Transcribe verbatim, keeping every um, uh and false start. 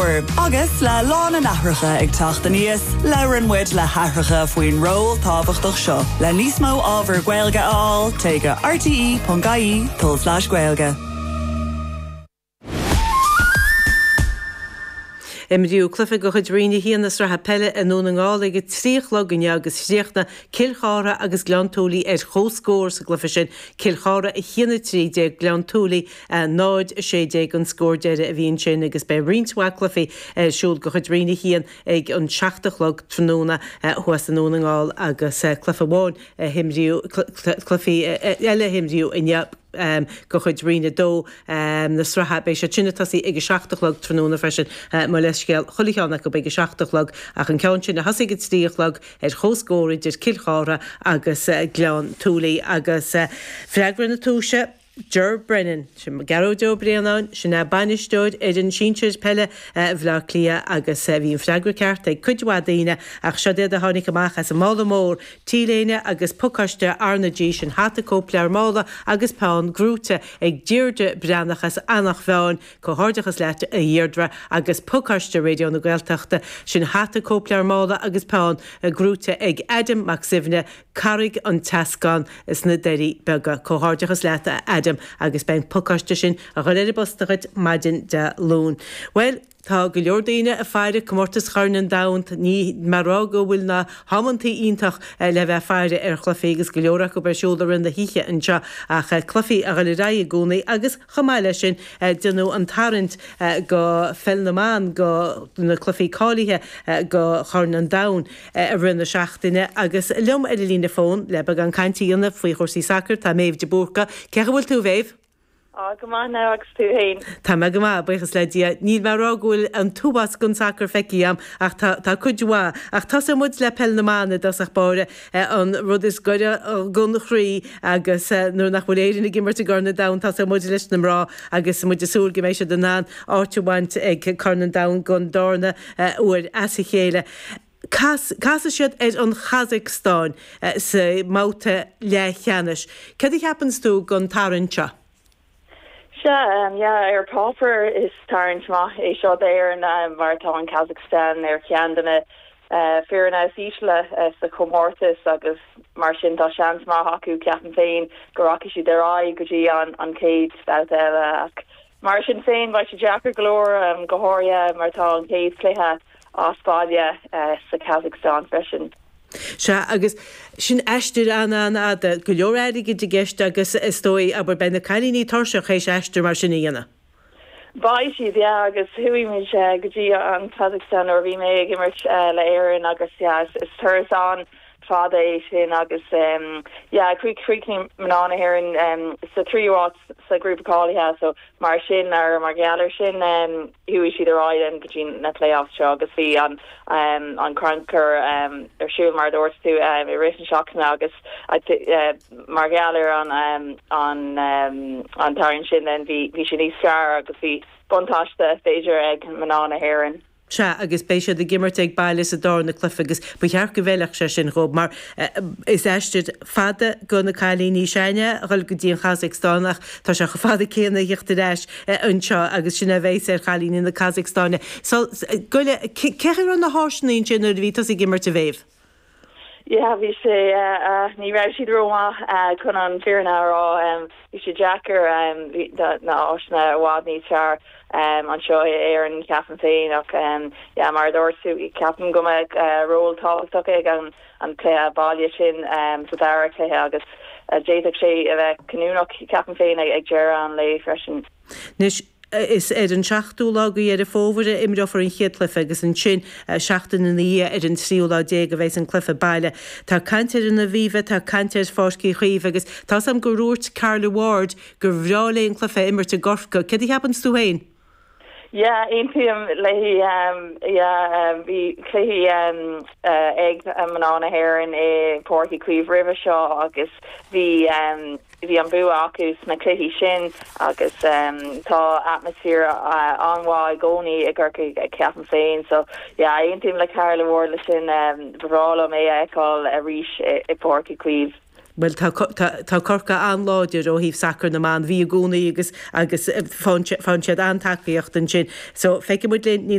Fómhair. Agus le Lá na nAithreacha ag teacht aníos, labhrann muid le haithreacha faoin ról tábhachtach seo. Le níos mó ábhar Gaeilge a fháil téigh go rte.ie tulslais Gaeilge. Imríodh cluiche de chuid Roinn a haon na Sraithe Peile i nDún na nGall ag a trí a chlog inniu agus chríochnaigh Cill Chartha agus Gleann tSúilí ar comhscór sa gcluiche sin, Cill Chartha a haon a trí déag, Gleann tSúilí náid a sé déag an scór deiridh a bhí ansin agus beidh roinnt mhaith cluichí ar siúl de chuid Roinn a haon ag an seacht a chlog tráthnóna thuas i nDún na nGall agus cluiche amháin a himríodh, cluichí eile a himríodh inniu. de chuid Roinn a Dó na sraithe. Beidh siad sin ag tosaí ag a seacht a chlog tráthnóna freisin. Mo leithscéal, chuile cheann acu ag a seacht a chlog ach an ceann sin a thosaigh ag a trí a chlog ar chomhscór idir Cill Chartha agus Gleann tSúilí. Agus freagra na tomhaise, Ger Brennan. Sin Gearóid Ó Braonáin, sin é bainisteoir fhoireann sinsir peile Bhaile Átha Cliath agus bhí an freagra ceart ag cuid mhaith daoine ach seo iad a tháinig amach as an mála mór, T-léine agus pacáiste RnaG, sin hata, cóipleabhar, mála agus peann gnóite ag Deirdre Breathnach as Eanach Mheáin, comhghairdeachas leat a Dheirdre, agus pacáiste Raidió na Gaeltachta, sin hata, cóipleabhar, mála agus peann gnóite ag Adam Mac Suibhne, Carraig an tSeascáin sna Doirí Beaga. Comhghairdeachas leat a Adam agus beidh an pacáiste sin a dhul ar an bpost chugat maidin Dé Luain. Bhuel, Tá go leor daoine ag faire Comórtas Chorn an Domhain, níl mé ag rá go bhfuil na hamantaí iontach le bheith ag faire ar chluichí agus go leor acu ar siúl i rith na hoíche anseo ach cluichí a dhul ar aghaidh i gcónaí agus chomh maith leis sin déanadh an tarraingt go Pheil na mBan go na cluichí cáilithe go Chorn an Domhain i rith na seachtaine agus liom ar an líne fóin le beagán cainte a dhéanamh faoi chúrsaí sacair tá Méabh de Búrca. Cén chaoi a bhfuil tú a Mhéabh? Á, go maith now agus tú fhéin? Tá mé go maith, buíochas le Dia. Níl mé ag rá go bhfuil an t-uafás den sacar feicthe agam ach tá, tá cuid mhaith. Ach tosóidh muid le Peil na mBan i dtosach báire, an rud is gaire don chroí agus nuair nach bhfuil Éirinn ag imirt i gCorn an Domhain tosóidh muid leis na mná agus muid ag súil go mbeidh siad in ann áit a bhaint ag Corn an Domhain don darna huair as a chéile. Casfaidh siad ar an Chasacstáin sa mbabhta leathcheannais. Céard a cheapanns tú den tarraingt seo? Sea, yeah, ar páipéar is tarraingt maith é seo d'Éirinn mar tá an Kazakhstan ar cheann de na foirne is ísle sa chomórtas agus mar sin tá seans maith acu, ceapaim féin, go rachaidh siad ar aghaidh go dtí an chéad bhabhta eile ach mar sin féin beidh sé deacair go leor, go háirithe mar tá an chéad chluiche as baile sa Kazakhstan freisin. Sea, agus sin aistear an-an-fhada, go leor airgid i gceist agus is dóigh, abair, beidh na cailíní tuirseach théis aistear mar sin a dhéanamh. Beidh siad, yeah, agus chuaigh muid go dtí an Kazakhstan nuair a bhí mé ag imirt le Éirinn agus yeah, is turas an-fhada é sin agus yeah, chríochnaigh mná na hÉireann sa tríú háit sa ghrúpa cáilithe so Mar sin, ar mar gheall air sin, chuaigh siad ar aghaidh go dtí na play-offs seo agus bhí an an crannchur ar siúl, mar a dúirt tú, i rith na seachtaine agus mar gheall ar an an an tarraingt sin then bhí bhí sé níos fearr agus bhí buntáiste, b'fhéidir, ag mná na hÉireann. Sea, agus beidh siad ag imirt ag baile sa darna cluiche agus ba cheart go bhfeilfeadh sé sin dhóibh mar is aistear fada go na cailíní s'againne a dhul go dtí an Chasacstáin ach tá sé chomh fada céanna a thíocht ar ais anseo agus sin a bheas ar chailíní na Casacstáine. So, goile, cé chaoi a raibh na háiseanna ansin nuair a bhí tusa ag imirt a Mhéabh? Yeah, bhí sé, ní raibh siad rómhaith chun an fírinne a rá. Bhí sé deacair, bhí na háiseanna i bhfad níos fearr anseo in Éirinn, ceapaim féin ach yeah, mar a dúirt tú, ceapaim go mbeidh ról tábhachtach ag an cluiche baile sin sa dara cluiche agus d'fhéadfadh sé a bheith cinniúnach, ceapaim féin, ag deireadh an lae freisin. Anois, is ar an seachtú lá de Dheireadh Fómhair a imreofar an chéad chluiche agus ansin seachtain ina dhiaidh ar an tríú lá déag a bheas an cluiche baile. Tá caint ar an Aviva, tá caint ar Pháirc Uí Chaoimh agus tá's a'm gur dhúirt Carla Ward gur bhreá léi an cluiche a imirt i gCorcaigh. Céard a cheapanns tú féin? Yeah, aontaím léi. Yeah, bhí cluichí ag mná na hÉireann i bPáirc Uí Chaoimh roimhe seo agus bhí Bhí an bua acu sna cluichí sin agus tá atmaisféar an-mhaith i gcónaí i gCorcaigh ceapaim féin. So yeah, aontaím le Carla Ward le sin, ba bhreá liom é a fheiceáil arís i bPáirc Uí Chaoimh. Bhuel tá tá Corcaigh an-láidir ó thaobh sacar na mban, bhí i gcónaí agus agus faigheann siad an-tacaíocht ansin. So feicfidh muid linn, níl na